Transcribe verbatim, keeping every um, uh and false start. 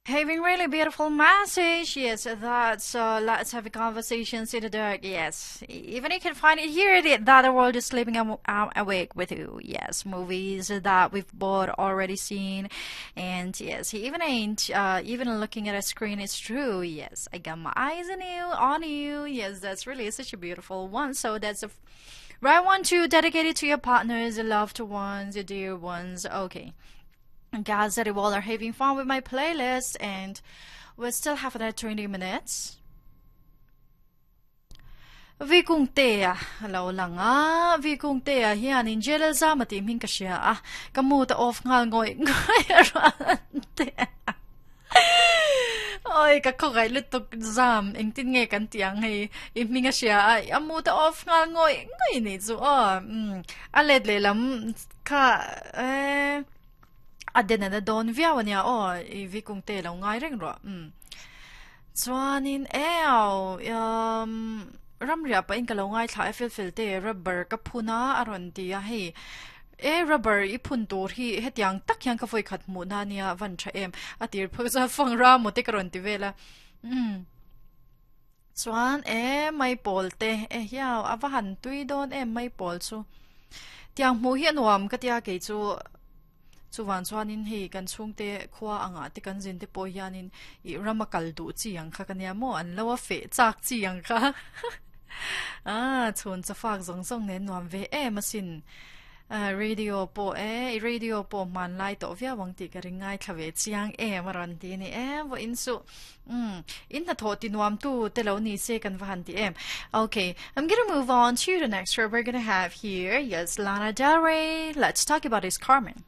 Having really beautiful message. Yes, that's uh, let's have a conversation in the dark. Yes, even you can find it here that the world is sleeping I'm, I'm awake with you. Yes, movies that we've both already seen, and yes, he even ain't uh, even looking at a screen. It's true. Yes, I got my eyes on you, on you. Yes, that's really such a beautiful one. So that's a right one to dedicate it to your partners, your loved ones, your dear ones. Okay. Guys, that you all are having fun with my playlist, and we still have another twenty minutes. Vi kung te a lo lang a vi kung te a hian in jela zama ti hming ka hria a ka mu ta off ngal ngoi ngoi ran te oi ka kho gai lutuk zam eng tin nge kan tiang hei i hming a hria a a mu ta off ngal ngoi ngoi ni chu o um a let le lam kha e a den na don viau ania o i vi kung te lo ngai reng ro um chuanin eo um ramria pa in ka lo ngai thla fel fel te rubber ka phuna aron ti a hei e rubber i phun tur hi hetiang tak hian ka foi khat mu na nia van tha em atir phak za fang ra mo te karon ti vela um chuan e mai pol te e hiao awa han tui don em mai pol chu tiang mu hi anuam ka tia ke chu chuwan chuanin hei kan chhungte khua anga te kan zin te pawh hianin i rama kal duh chi ang kha ka nia maw an lo a feh chak chi ang kha a chhun chafak zawng zawng nen nuam ve em asin radio pawh e i radio pawh hman lai tawh viau ang tih ka ring ngai thla ve chiang em a rawn ti a ni em vaw in chu um in hnathawh ti nuam tu te lo ni se kan va han ti em. Okay, I'm gonna move on to the next word we're gonna have here. Yes, Lana Del Rey. Let's talk about his Carmen.